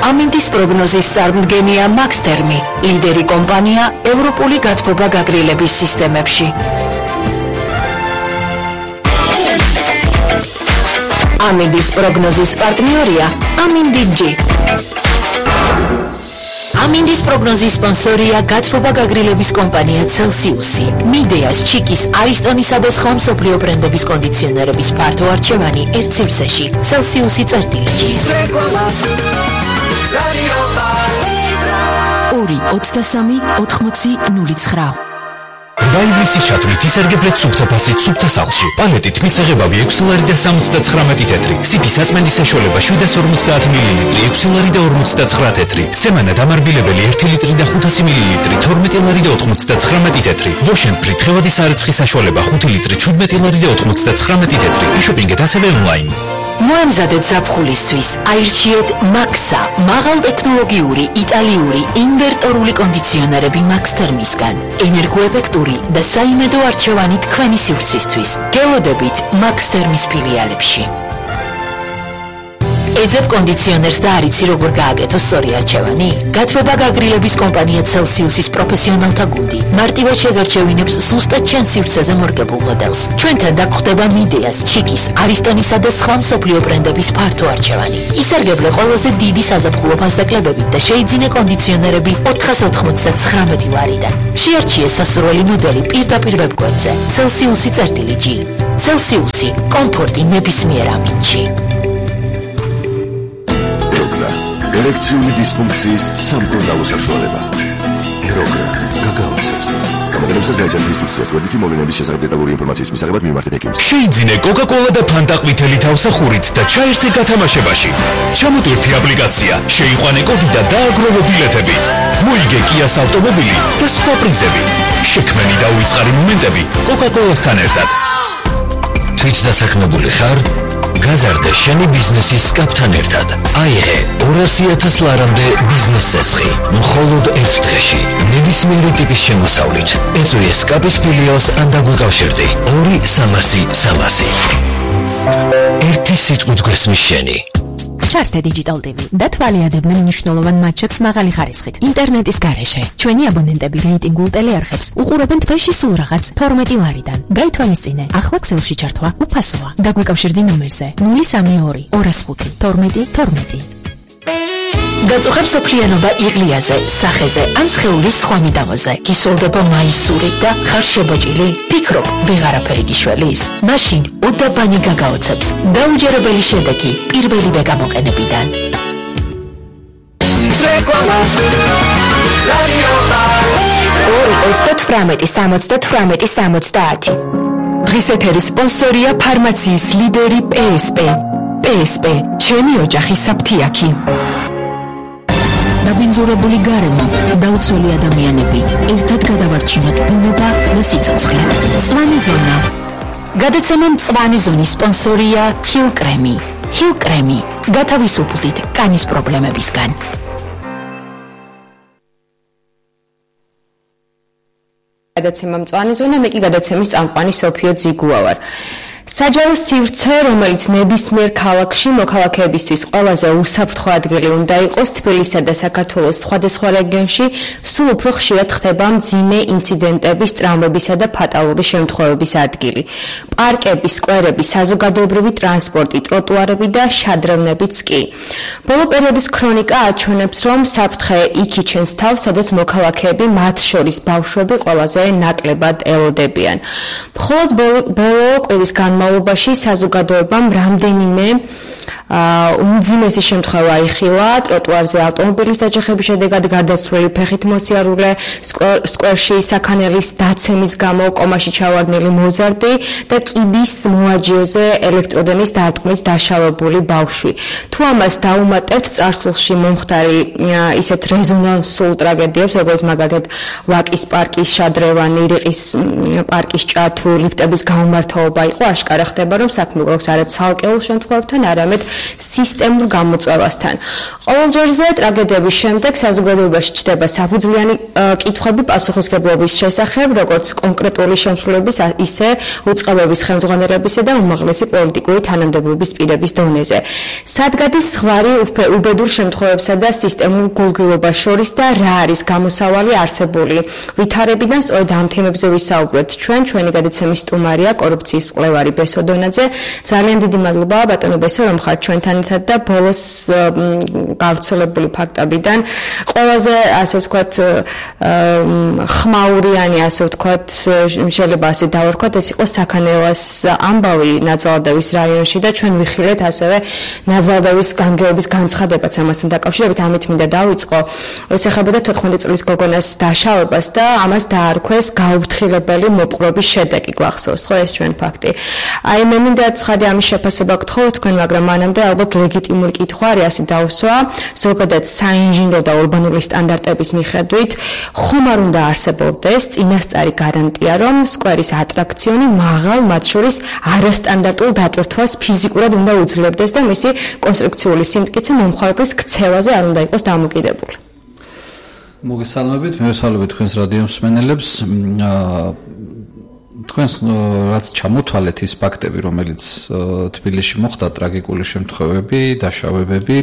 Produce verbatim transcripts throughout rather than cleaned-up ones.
ამინდის პროგნოზის წარმდგენია მაქსთერმი, ლიდერი კომპანია ევროპული გათბობა გაგრილების სისტემებში. ამინდის პროგნოზის პარტნიორია ამინდი-G. ამინდის პროგნოზის სპონსორია გათბობა გაგრილების კომპანია Celsius. მიდეას, ჩიკის, არისტონისა და სხვა მსოფლიო ბრენდების კონდიციონერების ფართო არჩევანი ერთ სივრცეში. Celsius-ი წერტილი. ორი ოცდასამი ოთხმოცი ნული ცხრა. Დაიბლისის ჩათვლით ისარგებლეთ სუფთა ფასით სუფთა სახლში. პალეტით მისაღებავი ექვსი ლარი და სამოცდაცხრამეტი თეთრი. სიფის აწმენდის საშუალება შვიდას ორმოცდაათ მილილიტრი, ექვსი ლარი და ორმოცდაცხრა თეთრი. სემანა დამარბილებელი ერთი ლიტრი და ხუთასი მილილიტრი, თორმეტი ლარი და ოთხმოცდაცხრამეტი თეთრი. ვოშენფრი თხევადი სარეცხის საშუალება ხუთი ლიტრი, შვიდმეტი ლარი და ოთხმოცდაცხრამეტი თეთრი. იშოპინგეთ ასევე ონლაინ. მოემზადეთ ზაფხულისთვის, აირჩიეთ მაქსა, მაღალტექნოლოგიური იტალიური ინვერტორული კონდიციონერები მაქსთერმისგან. ენერგოეფექტური და საიმედო არჩევანი თქვენი სივრცისთვის. გელოდებით მაქსთერმის ფილიალებში. ეძებ კონდიციონერს და არიცი როგორ გააკეთო სწორი არჩევანი? გათბობა გაგრილების კომპანია Celsius-ის პროფესიონალთა გუნდი მარტივად შეგარჩევინებს ზუსტად ჩვენ სივრცეზე მორგებულ მოდელს. ჩვენთან დაგხვდება მიდეას, ჩიკის, არისტონისა და სხვა მსოფლიო ბრენდების ფართო არჩევანი. ისარგებლე ყველაზე დიდი საზაფხულო ფასდაკლებებით და შეიძინე კონდიციონერები ოთხას ოთხმოცდაცხრამეტი ლარიდან. შეარჩიე სასურველი მოდელი პირდაპირ ვებგვერდზე Celsius-ი წერტილი G. Celsius-ი კომფორტი ნებისმიერ ამინდში. ერექციული დისფუნქციის სამკურნალო საშუალება. ეროგრა გაგაოცებს. გამოგონებსაც გაიცემთ ინსტრუქციას გვერდითი მოვლენების შესახებ დეტალური ინფორმაციის მისაღებად მიმართეთ ექიმს. შეიძინე კოკა-კოლა და ფანტა ყვითელი თავსახურით და ჩაერთე გათამაშებაში. ჩამოტვირთი აპლიკაცია, შეიყვანე კოდი და დააგროვო ბილეთები. მოიგე კიას ავტომობილი და სხვა პრიზები. შექმენი და უიწყარი მომენტები კოკა-კოლასთან ერთად. თვით დასაქმებული ხარ? გაზარდე შენი ბიზნესის კაპთან ერთად. აიღე ორასი ათას ლარამდე ბიზნეს წესხი. მხოლოდ ერთ დღეში. ნებისმიერი ტიპის შემოსავლით. ეწვიე სკაპის ფილიალს ან დაგვიკავშირდი. ორი სამასი სამასი. ერთი სიტყვით გვესმის შენი. ჩართე Digital ტი ვი და თვალიადებდნენ მნიშვნელოვან მატჩებს მაღალი ხარისხით. ინტერნეტის გარეშე. ჩვენი აბონენტები რეიტინგულ ტელეარხებს უყურებენ თვეში სულ რაღაც თორმეტი ლარიდან. გაითვალისწინე, ახლა ქსელში ჩართვა უფასოა. დაგვიკავშირდი ნომერზე ნული სამი ორი ორას ხუთი თორმეტი თორმეტი. გაწუხებ სოფლიანობა იღლიაზე, სახეზე ან სხეულის სხვა მიდამოზე. გისოლდება მაისური და ხარ შებოჭილი? ფიქრობ, ვეღარაფერი გიშველის? მაშინ უდაბანი გაგაოცებს. დაუჯერებელი შედეგი პირველივე გამოყენებიდან. ორი ოცდათვრამეტი სამოცდათვრამეტი სამოცდაათი. დღის ეთერის სპონსორია ფარმაციის ლიდერი პი ეს პი. პი ეს პი, ჩემი ოჯახის საფთიაქი. დაგვინძურებული გარემო, დაუცველი ადამიანები, ერთად გადავარჩინოთ ბუნება და სიცოცხლე. მწვანე ზონა. გადაცემა მწვანე ზონის სპონსორია ჰილ კრემი. ჰილ კრემი, გათავისუფლდით კანის პრობლემებისგან. გადაცემა მწვანე ზონა, მე კი გადაცემის წამყვანი სოფიო ძიგუა ვარ. საჯარო სივრცე, რომელიც ნებისმიერ ქალაქში მოქალაქეებისთვის ყველაზე უსაფრთხო ადგილი უნდა იყოს, თბილისსა და საქართველოს სხვადასხვა რეგიონში სულ უფრო ხშირად ხდება მძიმე ინციდენტების, ტრამვებისა და ფატალური შემთხვევების ადგილი. პარკები, სკვერები, საზოგადოებრივი ტრანსპორტი, ტროტუარები და შადრევნებიც კი. ბოლო პერიოდის ქრონიკა აჩვენებს, რომ საფრთხე იქ იჩენს თავს, სადაც მოქალაქეები, მათ შორის ბავშვები, ყველაზე ნაკლებად ელოდებიან. მხოლოდ ბოლო კვირის განმავლობაში საზოგადოებამ რამდენიმე უმძიმესი შემთხვევა იხილა ტროტუარზე ავტომობილის დაჯახების შედეგად გარდაცვლილი ფეხით მოსიარულე, სკვერში საქანელის დაცემის გამო კომაში ჩავარდნილი მოზარდი და კიბის მოაჯირზე ელექტროდენის დარტყმით დაშავებული ბავშვი. თუ ამას დაუმატებთ წარსულში მომხდარი ისეთ რეზონანსულ ტრაგედიებს, როგორც მაგალითად ვაკის პარკის შადრევანი, რიყის პარკის ჭათუ, ლიფტების გაუმართაობა იყო, აშკარა ხდება, რომ საქმე გვაქვს არა ცალკეულ შემთხვევებთან, არამედ სისტემურ გამოწვევასთან. ყოველჯერზე ტრაგედიების შემდეგ საზოგადოებაში ჩნდება საფუძვლიანი კითხვები პასუხისმგებლობის შესახებ, როგორც კონკრეტული შემსრულების, ისე უწყებების ხელმძღვანელობისა და უმაღლესი პოლიტიკური თანამდებობის პირების დონეზე. სად გადის ზღვარი უბედურ შემთხვევებსა და სისტემურ გულგრილობას შორის და რა არის გამოსავალი არსებული ვითარებიდან? სწორედ ამ თემებზე ვისაუბროთ ჩვენ. ჩვენი გადაცემის სტუმარია კორუფციის მკვლევარი ბესო დონაძე. ძალიან დიდი მადლობა ბატონო ბესო, რომ ხართ ჩვენთან ერთად და ბოლოს გავრცელებული ფაქტებიდან ყველაზე ასე ვთქვათ ხმაურიანი, ასე ვთქვათ, შეიძლება ასე დავარქვათ, ეს იყო საქანელას ამბავი ნაძალადევის რაიონში და ჩვენ ვიხილეთ ასევე ნაძალადევის გამგეობის განცხადებაც ამასთან დაკავშირებით. ამით მინდა დავიწყო. ეს ეხებოდა თოთხმეტი წლის გოგონას დაშავებას და ამას დაარქვეს გაუფრთხილებელი მოპყრობის შედეგი. გვახსოვს ხო ეს ჩვენ ფაქტი. აი მე მინდა ცხადე ამის შეფასება გთხოვოთ თქვენ, მაგრამ მანამდე ალბათ ლეგიტიმური კითხვა არის ასე დავსვა. ზოგადად საინჟინრო და ურბანული სტანდარტების მიხედვით ხომ არ უნდა არსებობდეს წინასწარი გარანტია, რომ სკვერის ატრაქციონი მაღალ, მათ შორის არასტანდარტულ დატვირთვას ფიზიკურად უნდა უძლებდეს და მისი კონსტრუქციული სიმტკიცე მომხმარებლის ქცევაზე არ უნდა იყოს დამოკიდებული. მოგესალმებით, მევესალმებით თქვენს რადიო მსმენელებს. თქვენს რაც ჩამოთვალეთ ის ფაქტები, რომელიც თბილისში მოხდა, ტრაგიკული შემთხვევები, დაშავებები,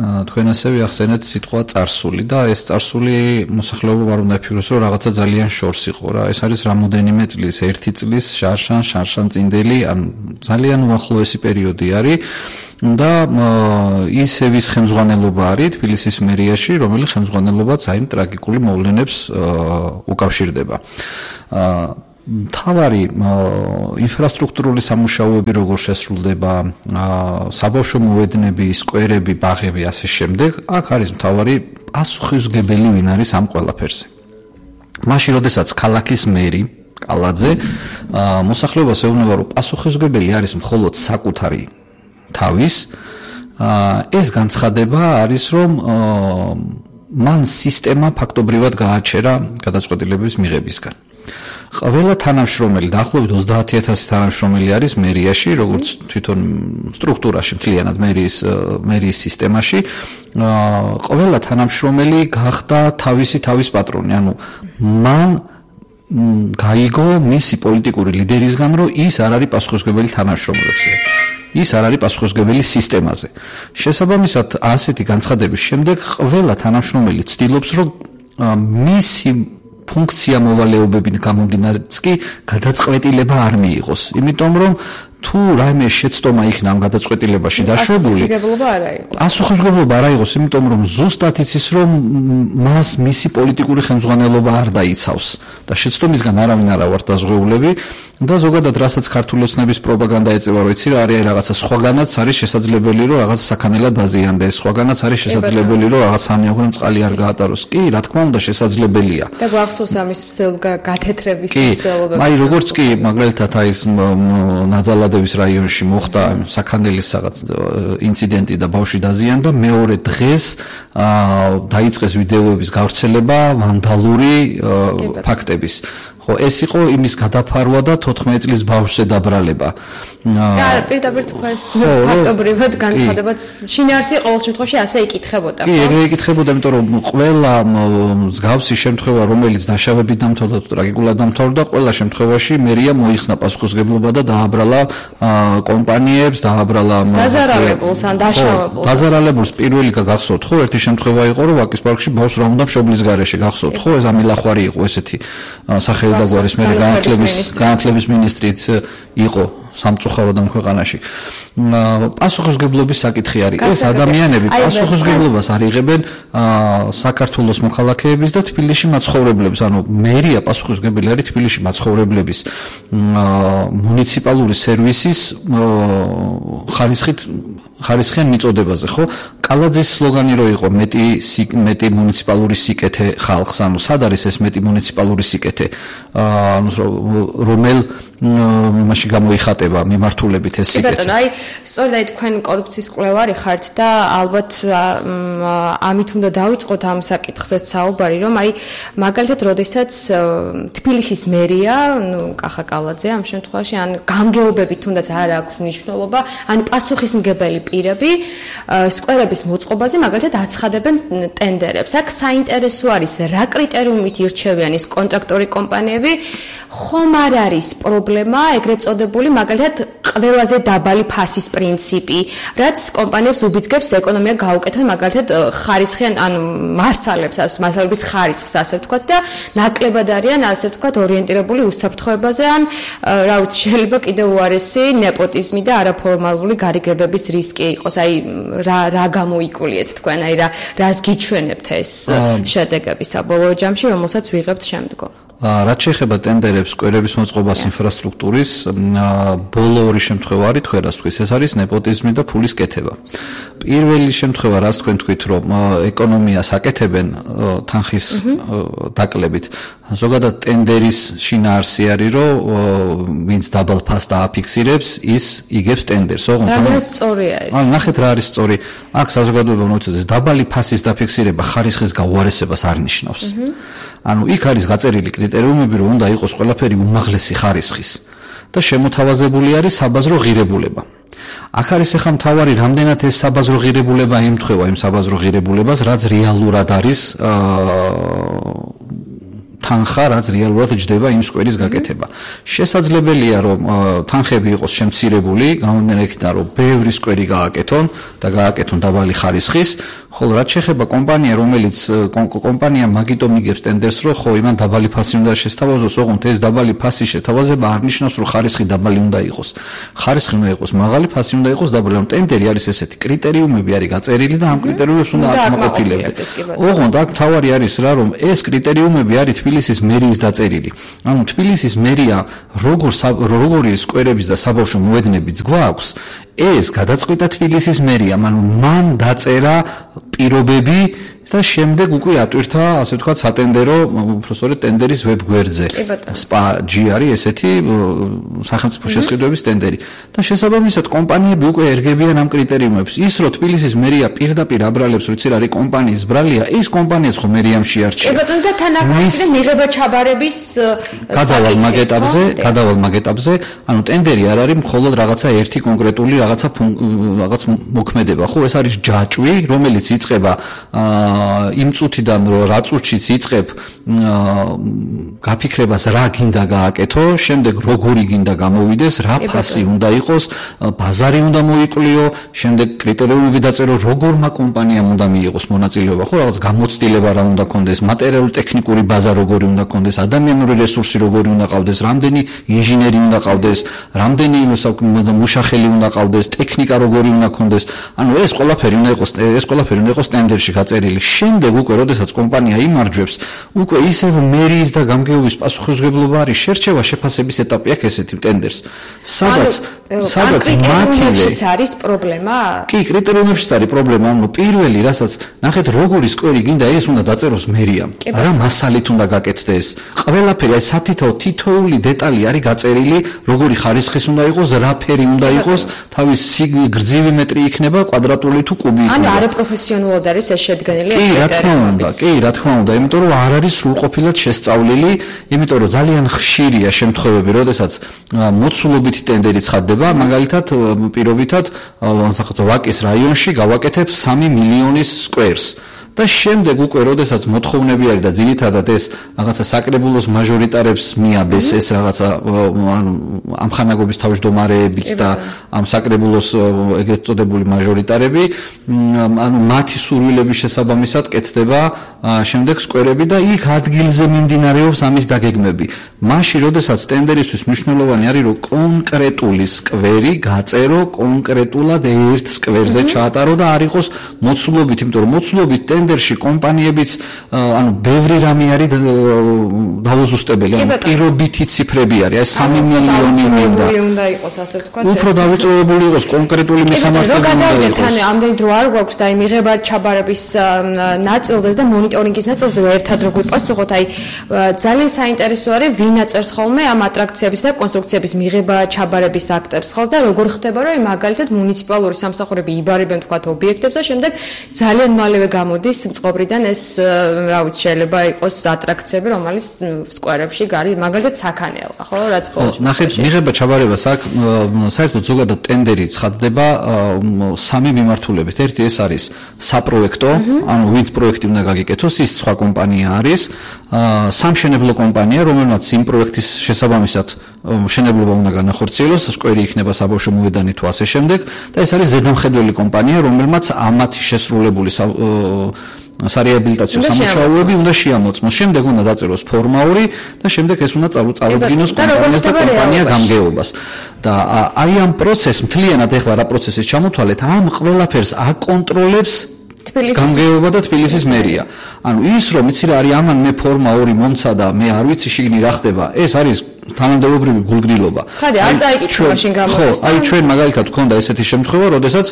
თქვენ ასევე ახსენეთ სიტყვა წარსული და ეს წარსული მოსახლეობამ არ უნდა იფიქროს, რომ რაღაცა ძალიან შორს იყო რა. ეს არის რამოდენიმე წლის, ერთი წლის შარშან, შარშან წინდელი, ან ძალიან უახლოესი პერიოდი არის. და ისევის ხელმძღვანელობა არის თბილისის მერიაში, რომელიც ხელმძღვანელობაც აი ტრაგიკული მოვლენებს უკავშირდება. თავარი ინფრასტრუქტურული სამუშაოები როგორ შესრულდება, საბავშვო მოედნები, სკვერები, ბაღები, ასე შემდეგ, აქ არის მთავარი პასუხისმგებელი ვინ არის ამ ყველაფერზე. მაშინ, როდესაც ქალაქის მერი კალაძე მოსახლეობას ეუბნება, რომ პასუხისმგებელი არის მხოლოდ საკუთარი თავის, ეს განცხადება არის, რომ მან სისტემა ფაქტობრივად გააჩერა გადაწყვეტილების მიღებისგან. ყველა თანამშრომელი, დაახლოებით ოცდაათი ათასი თანამშრომელი არის მერიაში, როგორც თვითონ სტრუქტურაში, მთლიანად მერიის მერიის სისტემაში. ყველა თანამშრომელი გახდა თავისი თავის პატრონი, ანუ მან გაიგო მისი პოლიტიკური ლიდერისგან, რომ ის არ არის პასუხისმგებელი თანამშრომლებზე. ის არ არის პასუხისმგებელი სისტემაზე. შესაბამისად, ასეთი განცხადების შემდეგ ყველა თანამშრომელი ცდილობს, რომ მისი ფუნქცია მოვალეობებით გამომდინარეც კი გადაწყვეტილება არ მიიღოს. იმიტომ რომ თუ რაიმე შეცდომა იქნა ამ გადაწყვეტილებაში დაშვებული, პასუხისმგებლობა არ აიღოს. პასუხისმგებლობა არ აიღოს, იმიტომ რომ ზუსტად იცის, რომ მას მისი პოლიტიკური ხელმძღვანელობა არ დაიცავს და შეცდომისგან არავინ არ ავართ დაზღვეულები და ზოგადად რასაც ქართული ოცნების პროპაგანდა ეწევა, რომ იცი რა არის რაღაცა სხვაგანაც არის შესაძლებელი, რომ რაღაც საქანელად დაზიანდეს, სხვაგანაც არის შესაძლებელი, რომ რაღაც სამეურნეო წყალი არ გაატაროს. კი, რა თქმა უნდა, შესაძლებელია. და გვახსოვს ამის გათეთრების მცდელობა. კი, აი როგორც კი მაგალითად აი ეს ნაძალადევის რაიონში მოხდა საქანელის რაღაც ინციდენტი და ბავშვი დაზიანდა, მეორე დღეს დაიწყეს ვიდეოების გავრცელება ვანდალური ფაქტების. ხო, ეს იყო იმის გადაფარვა და თოთხმეტი წლის ბავშვზე დაბრალება. და პირდაპირ თქვენს ფაქტობრივად განცხადებაც შინაარსი ყოველ შემთხვევაში ასე იკითხებოდა. კი, ეგრე იკითხებოდა, იმიტომ რომ ყველა მსგავსი შემთხვევა, რომელიც დაშავებით დამთავრდა თუ ტრაგიკულად დამთავრდა, ყველა შემთხვევაში მერია მოიხსნა პასუხისმგებლობა და დააბრალა კომპანიებს, დააბრალა დაზარალებულს ან დაშავებულს. დაზარალებულს პირველი გახსოვთ, ხო, ერთი შემთხვევა იყო, რომ ვაკის პარკში ბავშვს რა უნდა მშობლის გარეშე გახსოვთ, ხო, ეს ამილახვარი იყო ესეთი სახელი და გვარის მე განათლების განათლების მინისტრიც იყო სამწუხაროდ ამ ქვეყანაში. პასუხისმგებლობის საკითხი არის. ეს ადამიანები პასუხისმგებლობას არ იღებენ საქართველოს მოქალაქეების და თბილისში მაცხოვრებლების, ანუ მერია პასუხისმგებელი არის თბილისში მაცხოვრებლების მუნიციპალური სერვისის ხარისხით ხარისხიან მიწოდებაზე, ხო? კალაძის სლოგანი რო იყო მეტი მეტი მუნიციპალური სიკეთე ხალხს, ანუ სად არის ეს მეტი მუნიციპალური სიკეთე? ანუ რომელ მაშინ გამოიხატება მიმართულებით ეს სიკეთე. კი ბატონო, აი სწორედ აი თქვენ კორუფციის კვლევარი ხართ და ალბათ ამით უნდა დავიწყოთ ამ საკითხზეც საუბარი, რომ აი მაგალითად, როდესაც თბილისის მერია, ნუ კახა კალაძე ამ შემთხვევაში, ან გამგეობები თუნდაც არ აქვს მნიშვნელობა, ან პასუხისმგებელი პირები სკვერების მოწყობაზე მაგალითად აცხადებენ ტენდერებს. აქ საინტერესო არის, რა კრიტერიუმით ირჩევიან ის კონტრაქტორი კომპანიები, ხომ არ არის პრობლემა ეგრეთ წოდებული მაგალითად ყველაზე დაბალი ფასის პრინციპი, რაც კომპანიებს უბიძგებს ეკონომიკა გაუკეთონ მაგალითად ხარისხიან ან მასალებს, მასალების ხარისხს ასე ვთქვათ და ნაკლებად არიან ასე ვთქვათ ორიენტირებული უსაფრთხოებაზე ან რა ვიცი შეიძლება კიდევ უარესი ნეპოტიზმი და არაფორმალური გარიგებების რისკი იყოს. აი რა რა გამოიკულიეთ თქვენ, აი რა რას გიჩვენებთ ეს შედეგები საბოლოო ჯამში, რომელსაც ვიღებთ შემდგომ? რაც შეეხება ტენდერებს, სკვერების მოწყობას, ინფრასტრუქტურის, ბოლო ორი შემთხვევა არის თქვენ რას თქვით, ეს არის ნეპოტიზმი და ფულის კეთება. პირველი შემთხვევა, რას თქვენ თქვით, რომ ეკონომიას აკეთებენ თანხის დაკლებით. ზოგადად ტენდერის შინაარსი არის, რომ ვინც დაბალ ფასს დააფიქსირებს, ის იგებს ტენდერს, ოღონდ. რა სწორია ეს? ან ნახეთ რა არის სწორი. აქ საზოგადოებამ მოიწოდეს დაბალი ფასის დაფიქსირება ხარისხის გაუარესებას არ ნიშნავს. ანუ იქ არის გაწერილი კრიტერიუმები, რომ უნდა იყოს ყველაფერი უმაღლესი ხარისხის და შემოთავაზებული არის საბაზრო ღირებულება. აქ არის ახლა მთავარი, რამდენად ეს საბაზრო ღირებულება ემთხვევა იმ საბაზრო ღირებულებას, რაც რეალურად არის თანხა, რაც რეალურად ჯდება იმ სკვერის გაკეთება. შესაძლებელია, რომ თანხები იყოს შემცირებული, გამომდინარე იქიდან, რომ ბევრი სკვერი გააკეთონ და გააკეთონ დაბალი ხარისხის, ხოლო რაც შეეხება კომპანია, რომელიც კომპანია მაგიტომ იგებს ტენდერს, რომ ხო, იმან დაბალი ფასი უნდა შესთავაზოს, ოღონდ ეს დაბალი ფასის შეთავაზება არ ნიშნავს, რომ ხარისხი დაბალი უნდა იყოს. ხარისხი უნდა იყოს მაღალი, ფასი უნდა იყოს დაბალი. ამ ტენდერი არის ესეთი, კრიტერიუმები არის გაწერილი და ამ კრიტერიუმებს უნდა აკმაყოფილებდეთ. ოღონდ აქ თავარი არის რა, რომ ეს კრიტერიუმები არის თბილისის მერიის დაწერილი. ანუ თბილისის მერია როგორ როგორი სკვერების და საბავშვო მოედნებიც გვაქვს, ეს გადაწყვეტა თბილისის მერიამ, ანუ მან დაწერა პირობები და შემდეგ უკვე ატვირთა, ასე ვთქვათ, სატენდერო, უბრალოდ ტენდერის ვებგვერდზე. სპა ჯი არის ესეთი სახელმწიფო შესყიდვების ტენდერი. და შესაბამისად კომპანიები უკვე ერგებიან ამ კრიტერიუმებს. ის რომ თბილისის მერია პირდაპირ აბრალებს, როცა არის კომპანიის ბრალია, ის კომპანიაც ხო მერიამ შეარჩია. კი ბატონო, და თან აქ მიღება ჩაბარების გადავალ მაგ ეტაპზე, გადავალ მაგ ეტაპზე, ანუ ტენდერი არ არის მხოლოდ რაღაცა ერთი კონკრეტული რაღაცა რაღაც მოქმედება, ხო, ეს არის ჯაჭვი, რომელიც იწყება იმ წუთიდან, რომ რა წუთშიც იწყებ გაფიქრებას რა გინდა გააკეთო, შემდეგ როგორი გინდა გამოვიდეს, რა ფასი უნდა იყოს, ბაზარი უნდა მოიკვლიო, შემდეგ კრიტერიუმები დაწერო, როგორმა კომპანიამ უნდა მიიღოს მონაწილეობა, ხო, რაღაც გამოცდილება რა უნდა კონდეს, მატერიალურ-ტექნიკური ბაზა როგორი უნდა კონდეს, ადამიანური რესურსი როგორი უნდა ყავდეს, რამდენი ინჟინერი უნდა ყავდეს, რამდენი მუშახელი უნდა ყავდეს, ტექნიკა როგორი უნდა კონდეს. ანუ ეს ყველაფერი უნდა იყოს, ეს ყველაფერი უნდა იყოს ტენდერში გაწერილი. შემდეგ უკვე, როდესაც კომპანია იმარჯვებს, უკვე ისევ მერიის და გამგეობის პასუხისმგებლობა არის შერჩევა შეფასების ეტაპი აქ ესეთი ტენდერს. სადაც სადაც მათივე არის პრობლემა? კი, კრიტერიუმებშიც არის პრობლემა, ანუ პირველი, რასაც ნახეთ, როგორი სკვერი გინდა, ეს უნდა დაწეროს მერიამ. რა მასალით უნდა გაკეთდეს? ყველაფერი, აი სათითაო თითოეული დეტალი არის გაწერილი, როგორი ხარისხის უნდა იყოს, რა ფერი უნდა იყოს, თავის გრძივი მეტრი იქნება, კვადრატული თუ კუბი იქნება. ანუ არაპროფესიონალურად არის ეს შედგენილი. კი, რა თქმა უნდა, კი, რა თქმა უნდა, იმიტომ რომ არ არის სრულყოფილად შესწავლილი, იმიტომ რომ ძალიან ხშირია შემთხვევები, როდესაც მოცულობითი ტენდერი ცხადდება, მაგალითად, პირობითად, სახელმწიფო ვაკის რაიონში გავაკეთებ სამი მილიონის სკვერს. და შემდეგ უკვე, როდესაც მოთხოვნები არის და ძირითადად ეს რაღაცა საკრებულოს მაჟორიტარებს მიაბეს ეს რაღაცა ანუ ამხანაგობის თავმჯდომარეებით და ამ საკრებულოს ეგრეთ წოდებული მაჟორიტარები, ანუ მათი სურვილების შესაბამისად კეთდება შემდეგ სკვერები და იქ ადგილზე მიმდინარეობს ამის დაგეგმები. მაშინ, როდესაც ტენდერისთვის მნიშვნელოვანი არის, რომ კონკრეტული სკვერი გაწერო კონკრეტულად ერთ სკვერზე ჩაატარო და არ იყოს მოცულობით, იმიტომ რომ მოცულობით ტენდერი ტენდერში კომპანიებიც ანუ ბევრი რამე არის დაუზუსტებელი, ანუ პირობითი ციფრები არის, აი სამი მილიონი უნდა იყოს, ასე ვთქვათ. უფრო დავიწოვებული იყოს კონკრეტული მისამართები უნდა იყოს. თან ამდენი დრო არ გვაქვს და აი მიღება ჩაბარების ნაწილზე და მონიტორინგის ნაწილზე ერთად რო გვიპასუხოთ, აი ძალიან საინტერესო არის ვინ აწერს ხოლმე ამ ატრაქციების და კონსტრუქციების მიღება ჩაბარების აქტებს ხოლმე და როგორ ხდება რომ მაგალითად მუნიციპალური სამსახურები იბარებენ თქვათ ობიექტებს და შემდეგ ძალიან მალევე გამოდის წყობრიდან ეს რა ვიცი შეიძლება იყოს ატრაქციები რომელიც სკვერებში გარი მაგალითად საქანელია ხო რაც ყოველთვის ნახეთ მიღება ჩაბარებას აქ საერთოდ ზოგადად ტენდერი ცხადდება სამი მიმართულებით ერთი ეს არის საპროექტო ანუ ვინც პროექტი უნდა გაგიკეთოს ის სხვა კომპანია არის სამშენებლო კომპანია რომელმაც იმ პროექტის შესაბამისად მშენებლობა უნდა განახორციელოს სკვერი იქნება საბავშვო მოედანი თუ ასე შემდეგ და ეს არის ზედამხედველი კომპანია რომელმაც ამათი შესრულებული სარეაბილიტაციო სამუშაოები უნდა შეამოწმოს. შემდეგ უნდა დაწეროს ფორმაური და შემდეგ ეს უნდა წარუდგინოს კომპანიას და კომპანია გამგეობას. და აი ამ პროცესს მთლიანად ეხლა რა პროცესის ჩამოთვალეთ, ამ ყველაფერს აკონტროლებს გამგეობა და თბილისის მერია. ანუ ის რომ იცი რა არის ამან მე ფორმა ორი მომცა და მე არ ვიცი შიგნი რა ხდება, ეს არის თანამდებობრივი გულგრილობა. ცხადი არ წაიკითხა მაშინ გამოდის. აი ჩვენ მაგალითად გქონდა ესეთი შემთხვევა, როდესაც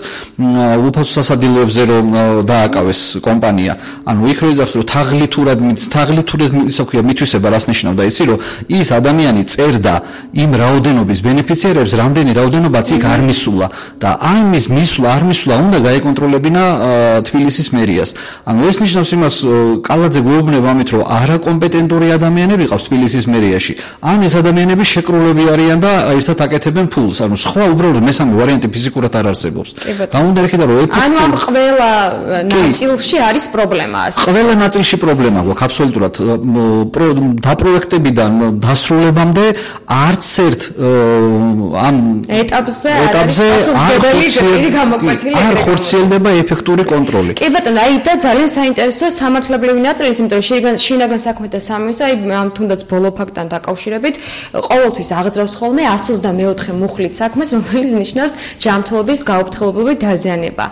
უფასო სასადილოებზე რომ დააკავეს კომპანია, ანუ იქ რო იძახს რომ თაღლითურად თაღლითურად ისე ქვია მითვისება რას ნიშნავდა იცი რომ ის ადამიანი წერდა იმ რაოდენობის ბენეფიციარებს რამდენი რაოდენობაც იქ არ მისულა და ამის მისვლა არ მისვლა უნდა გაეკონტროლებინა თბილისის მერიას. ანუ ეს ნიშნავს იმას კალაძე გვეუბნება ამით რომ არაკომპეტენტური ადამიანები ყავს თბილისის მერიაში. ან ეს ადამიანები შეკრულები არიან და ერთად აკეთებენ ფულს. ანუ სხვა უბრალოდ მესამე ვარიანტი ფიზიკურად არ არსებობს. გამომდინარე რომ ეფექტი ანუ ამ ყველა ნაწილში არის პრობლემა. ყველა ნაწილში პრობლემა გვაქვს აბსოლუტურად დაპროექტებიდან დასრულებამდე არც ერთ ამ ეტაპზე ეტაპზე არ ხორციელდება ეფექტური კონტროლი. კი ბატონო, აი და ძალიან საინტერესოა სამართლებრივი ნაწილიც, იმიტომ რომ შინაგან საქმეთა სამინისტრო აი ამ თუნდაც ბოლო ფაქტთან დაკავშირებით ყოველთვის აღძრავს ხოლმე εκατს ოცდამეოთხე მუხლით საქმეს, რომელიც ნიშნავს ჯანმრთელობის გაუფრთხილებული დაზიანება.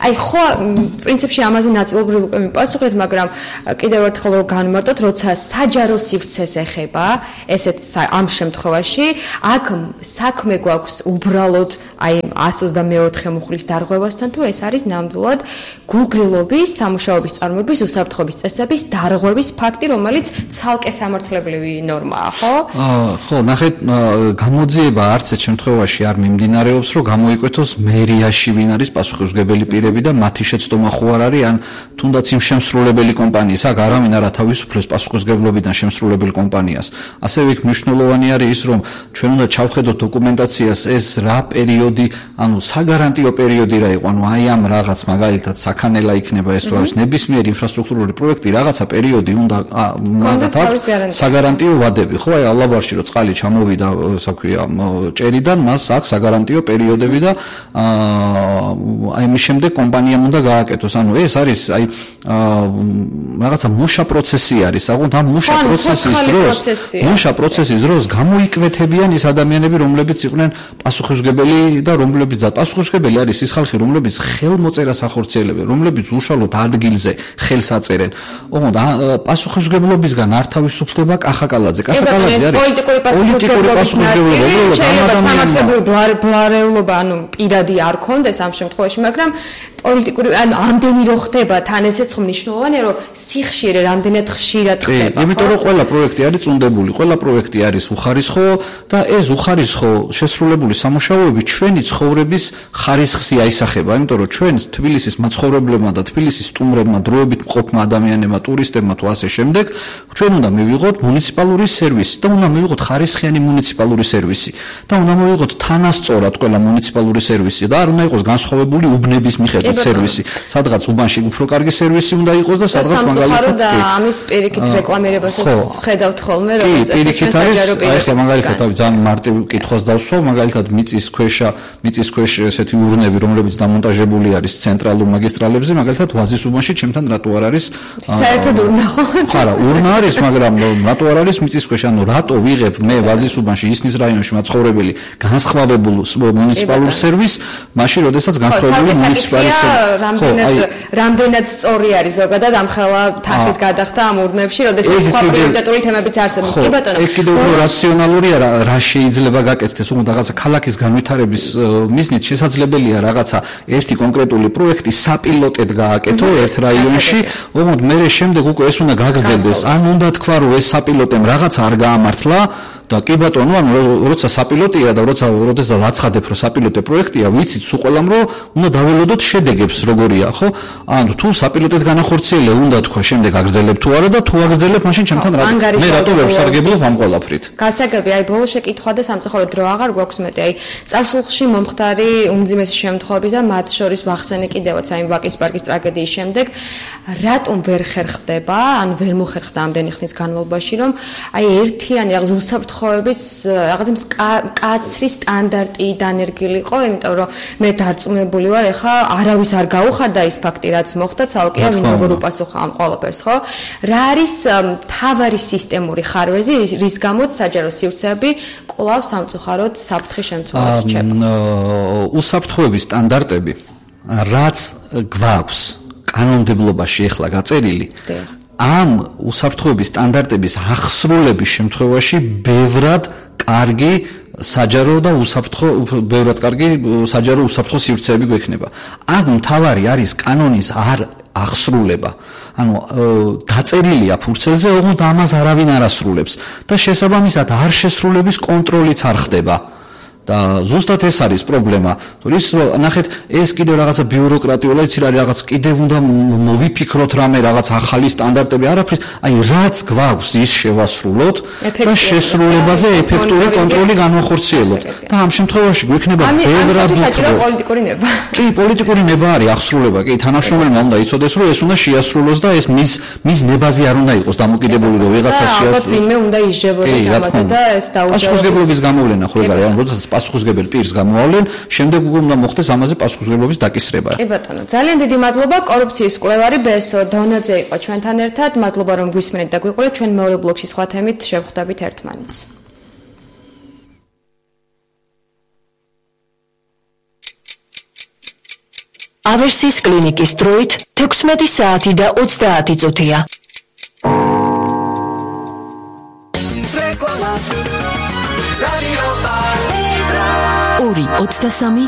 აი ხო პრინციპში ამაზე ნაწილობრივ უკვე მიპასუხეთ, მაგრამ კიდევ ერთხელ რომ განმარტოთ, როცა საჯარო სივრცეს ეხება, ესეთ ამ შემთხვევაში აქ საქმე გვაქვს უბრალოდ აი εκατს ოცდამეოთხე მუხლის დარღვევასთან თუ ეს არის ნამდვილად გულგრილობის, სამუშაოების წარმოების, უსაფრთხოების წესების დარღვევის ფაქტი, რომელიც ცალკე სამართლებრივი ნორმაა, ხო? ხო, ნახეთ, გამოძიება არც ერთ შემთხვევაში არ მიმდინარეობს, რომ გამოიკვეთოს მერიაში ვინ არის პასუხისმგებელი პირები და მათი შეცდომა ხო არ არის, ან თუნდაც იმ შემსრულებელი კომპანიის, აქ არავინ არ ათავისუფლებს პასუხისმგებლობიდან შემსრულებელ კომპანიას. ასევე იქ მნიშვნელოვანი არის ის, რომ ჩვენ უნდა ჩავხედოთ დოკუმენტაციას ეს რა პერიოდი, ანუ საგარანტიო პერიოდი რა იყო, ანუ აი ამ რაღაც მაგალითად საქანელა იქნება ეს რა ვიცი, ნებისმიერი ინფრასტრუქტურული პროექტი რაღაცა პერიოდი უნდა მაგათაც საგარანტიო ვადები, ხო, აი ალაბარში რომ წყალი ჩამოვიდა, ასე ვქვია, ჭერიდან, მას აქვს საგარანტიო პერიოდები და აი მის შემდეგ კომპანიამ უნდა გააკეთოს. ანუ ეს არის აი რაღაცა მუშა პროცესი არის, აღუნთ ამ მუშა პროცესის დროს, მუშა პროცესის დროს გამოიკვეთებიან ის ადამიანები, რომლებიც იყვნენ პასუხისმგებელი და რომლებიც და პასუხისმგებელი არის ის ხალხი, რომლებიც ხელმოწერას ახორციელებენ, რომლებიც უშუალოდ ადგილზე ხელს აწერენ. ოღონდ პასუხისმგებლობისგან არ თავისუფლდება კახაკალაძე. კახაკალაძე არის პოლიტიკური პასუხისმგებლობა, შეიძლება სამართლებრივი ბლარეულობა, ანუ პირადი არ ქონდეს ამ შემთხვევაში, მაგრამ პოლიტიკური ანუ ამდენი რო ხდება თან ესეც ხომ მნიშვნელოვანია რომ სიხშირე რამდენად ხშირად ხდება. კი, იმიტომ რომ ყველა პროექტი არის წუნდებული, ყველა პროექტი არის უხარისხო და ეს უხარისხო შესრულებული სამუშაოები ჩვენი ცხოვრების ხარისხს აისახება, იმიტომ რომ ჩვენ თბილისის მაცხოვრებლებმა და თბილისის სტუმრებმა, დროებით მყოფმა ადამიანებმა, ტურისტებმა თუ ასე შემდეგ, ჩვენ უნდა მივიღოთ მუნიციპალური სერვისი და უნდა მივიღოთ ხარისხიანი მუნიციპალური სერვისი და უნდა მივიღოთ თანასწორად ყველა მუნიციპალური სერვისი და არ უნდა იყოს განსხვავებული უბნების მიხედვით სერვისი. სადღაც უბანში უფრო კარგი სერვისი უნდა იყოს და სადღაც მაგალითად და ამის პირიქით რეკლამირებასაც ხედავთ ხოლმე, რომ პირიქით არის, აი ხა მაგალითად ძალიან მარტივ კითხვას დავსვავ, მაგალითად მიწის ქვეშა, მიწის ქვეშ ესეთი ურნები, რომლებიც დამონტაჟებული არის ცენტრალურ მაგისტრალებზე, მაგალითად ვაზის უბანში ჩემთან რატო არ არის? საერთოდ ურნა ხო? ხარა, ურნა არის, მაგრამ რატო არ არის მიწის ქვეშ? ანუ რატო ვიღე ვიღებ მე ვაზის უბანში ისნის რაიონში მაცხოვრებელი განსხვავებულ მუნიციპალურ სერვისს, მაშინ როდესაც განსხვავებული მუნიციპალური სერვისი რამდენად სწორი არის ზოგადად ამხელა თანხის გადახდა ამ ურნებში, როდესაც სხვა პრიორიტეტული თემებიც არსებობს. კი ბატონო. ეგ კიდევ უფრო რაციონალურია რა შეიძლება გაკეთდეს, უბრალოდ რაღაცა ქალაქის განვითარების მიზნით შესაძლებელია რაღაცა ერთი კონკრეტული პროექტი საპილოტედ გააკეთო ერთ რაიონში, ოღონდ მე შემდეგ უკვე ეს უნდა გაგრძელდეს. ან უნდა თქვა რომ ეს საპილოტემ რაღაც არ გაამართლა და კი ბატონო, ანუ როცა საპილოტია და როცა როდესაც აცხადებ რომ საპილოტე პროექტია, ვიცით სულ ყველამ რომ უნდა დაველოდოთ შედეგებს როგორია, ხო? ანუ თუ საპილოტედ განახორციელე უნდა თქვა შემდეგ აგრძელებ თუ არა და თუ აგრძელებ, მაშინ ჩემთან რა მე რატო ვერ ვსარგებლობ ამ ყველაფრით. გასაგები, აი ბოლო შეკითხვა და სამწუხაროდ დრო აღარ გვაქვს მეტი. აი წარსულში მომხდარი უმძიმესი შემთხვევები და მათ შორის ვახსენე კიდევაც აი ვაკის პარკის ტრაგედიის შემდეგ, რატომ ვერ ხერხდება, ან ვერ მოხერხდა ამდენი ხნის განმავლობაში, რომ აი ერთიანი რაღაც უსაფრთხოების რაღაცა მკაცრი სტანდარტი დანერგილიყო, იმიტომ რომ მე დარწმუნებული ვარ, ეხა არავის არ გაუხარდა ის ფაქტი, რაც მოხდა, ცალკეა ვინ როგორ უპასუხა ამ ყველაფერს, ხო? რა არის მთავარი სისტემური ხარვეზი, რის გამოც საჯარო სივრცეები კვლავ სამწუხაროდ საფრთხის შემთხვევაში რჩება? უსაფრთხოების სტანდარტები, რაც გვაქვს კანონმდებლობაში ახლა გაწერილი, ამ უსაფრთხოების სტანდარტების აღსრულების შემთხვევაში ბევრად კარგი საჯარო და უსაფრთხო ბევრად კარგი საჯარო უსაფრთხო სივრცეები გვექნება. აქ მთავარი არის კანონის არ აღსრულება. ანუ დაწერილია ფურცელზე, ოღონდ ამას არავინ არ ასრულებს და შესაბამისად არ შესრულების კონტროლიც არ ხდება. და ზუსტად ეს არის პრობლემა. ის ნახეთ, ეს კიდევ რაღაცა ბიუროკრატიული, იცი რა რაღაც კიდევ უნდა მოვიფიქროთ რამე რაღაც ახალი სტანდარტები, არაფრის, აი რაც გვაქვს ის შევასრულოთ და შესრულებაზე ეფექტური კონტროლი განვახორციელოთ. და ამ შემთხვევაში გვექნება ბევრად საჭირო პოლიტიკური ნება. კი, პოლიტიკური ნება არის აღსრულება. კი, თანამშრომელმა უნდა იცოდეს, რომ ეს უნდა შეასრულოს და ეს მის მის ნებაზე არ უნდა იყოს დამოკიდებული, რომ ვიღაცა შეასრულოს. ალბათ ვინმე უნდა ისჯებოდეს ამაზე და ეს დაუჯერებლობის პასუხისმგებლობის გამოვლენა ხო ეგ არის, ანუ როდესაც პასუხისმგებელ პირს გამოავლენ, შემდეგ უკვე უნდა მოხდეს ამაზე პასუხისმგებლობის დაკისრება. კი ბატონო, ძალიან დიდი მადლობა. კორუფციის კვლევარი ბესო დონაძე იყო ჩვენთან ერთად. მადლობა რომ გვისმენთ და გვიყურეთ. ჩვენ მეორე ბლოკში სხვა თემით შევხვდებით ერთმანეთს. ავერსის კლინიკის დროით თექვსმეტი საათი და ოცდაათი წუთია. ორი ოცდასამი